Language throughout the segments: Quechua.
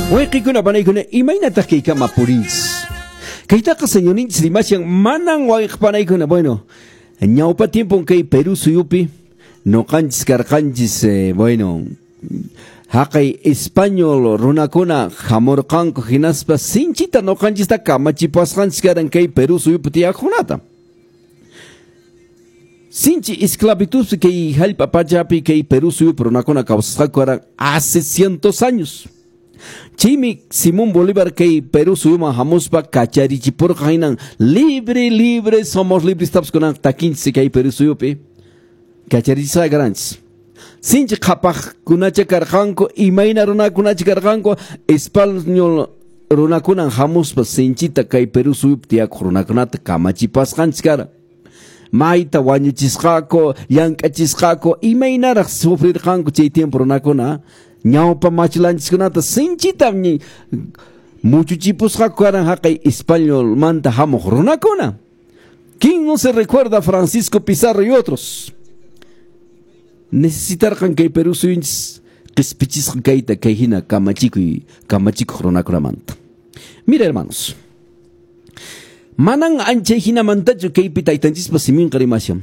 Wayqikuna panaykuna imaynataq kaykama purinchis? Kaytaqa señorninchis rimashan manan wayqipanaykuna. Bueno, ñawpa tiempon kay Perú suyupi noqanchis karqanchis, bueno, haqay español runakuna hamurqanku hinaspa sinchita noqanchista kamachipasqanchis karan kay Perú suyupi tiyaqkunata. Sinchi esclavitud kay hallp'a pachapi kay Perú suyupi runakuna kawsasqaku karan hace cientos años. Chaymi Simón Bolívar kay Perú suyuman hamuspa kacharichipurqa hinan libre, libre, somos libres tapas kunan takinchis kay Perú suyupi kacharichisqa karanchis. Sinchi qhapaqkunacha karqanku, imayna runakunacha karqanku, español runakunan hamuspa sinchita kay Perú suyupi tiyakuq runakunata kamachipasqanchis karan. Mayta wañuchisqaku, llank'achisqaku, imaynaraq sufrirqanku chay tiempo runakuna. Ñawpa machilanchiskunata sinchita muchuchipusqaku karan haqay españolmanta hamuq runakuna. ¿Quién no se recuerda a Francisco Pizarro y otros? Necesitarqan kay Perú suyunchis qispichisqa kayta kay hina kamachikuy kamachikuq runakunamanta. Mira, hermanos, manan anchay hinamantachu kaypi taytanchispa siminqa rimashan.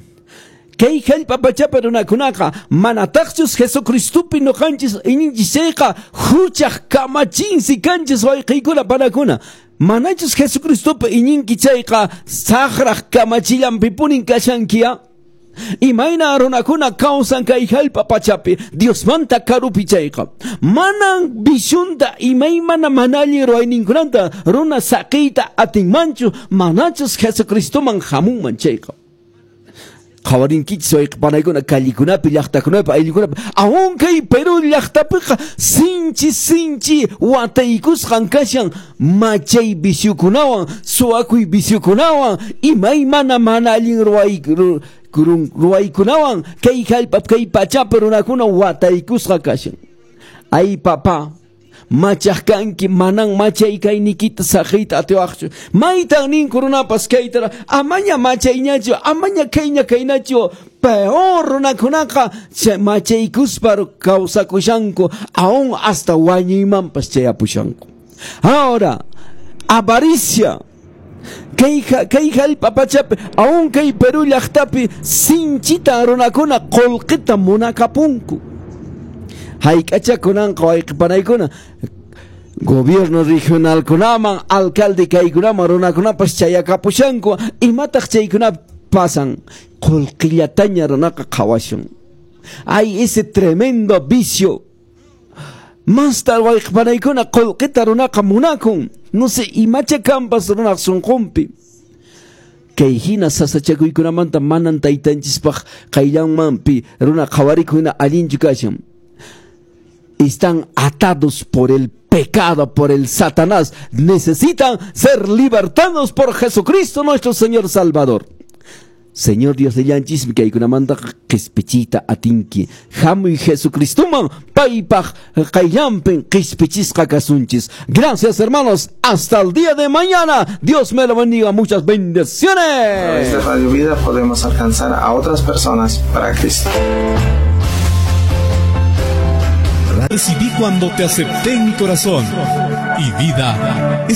Kay hallp'a pachapi runakunaqa manataqchus Jesucristopi noqanchis iñinchis chayqa huchaq kamachinsi kanchis wayqiykuna panakuna. Manachus Jesucristopi iñinki chayqa saqraq kamachillanpipunin kashankiya. Imayna runakuna kawsan kay hallp'a pachapi Diosmanta karupi chayqa. Manan visionta imaymana mana allin ruwayninkunata runa saqiyta atinmanchu manachus Jesucristoman hamunman chayqa. Qhawarinkichis wayqipanaykuna callikunapi, llaqtakunapi, ayllukunapi, aún kay Perú llaqtapiqa sinchi sinchi wataykusqan kashan machay viciokunawan, suwakuy viciokunawan, imaymana mana allin ruwaykunawan kay hallp'a kay pachapi runakuna wataykusqa kashan. Ay papá, machaq kanki manan machay kaynikita saqiyta atiwaqchu. Maytan ninku runapas kaytara amaña machayñachu, amaña kayña kaynachu. Peor runakunaqa machaykuspa kawsakushanku, aún hasta wañuymanpas chayapushanku. Ahora, avaricia. Kay hallp'a pachapi, aún kay Perú llaqtapi sinchita runakuna qullqita munakapunku. Hayk'achakunanqa wayqipanaykuna gobierno regionalkunaman, alcalde kaykunaman runakunapas chayakapushanku. Imataq chaykunapi pasan? Qullqillataña runaqa qhawashun. Ay, ese tremendo vicio. Masta wayqipanaykuna qullqita runaqa munakun. No sé, imacha kampas runaq sunqunpi. Kay hina sasachakuykunamanta manan taytanchispaq qayllanmanpi runa qhawarikuna allinchu kashan. Están atados por el pecado, por el Satanás. Necesitan ser libertados por Jesucristo nuestro Señor Salvador. Señor Dios de llanchismi kaykunamanta qispichita atinki. Hamuy Jesucristoman paypaq qayllanpin qispichisqa kasunchis. Gracias, hermanos. Hasta el día de mañana. Dios me lo bendiga. Muchas bendiciones. A través de Radio Vida podemos alcanzar a otras personas para Cristo. Recibí cuando te acepté en mi corazón y vida.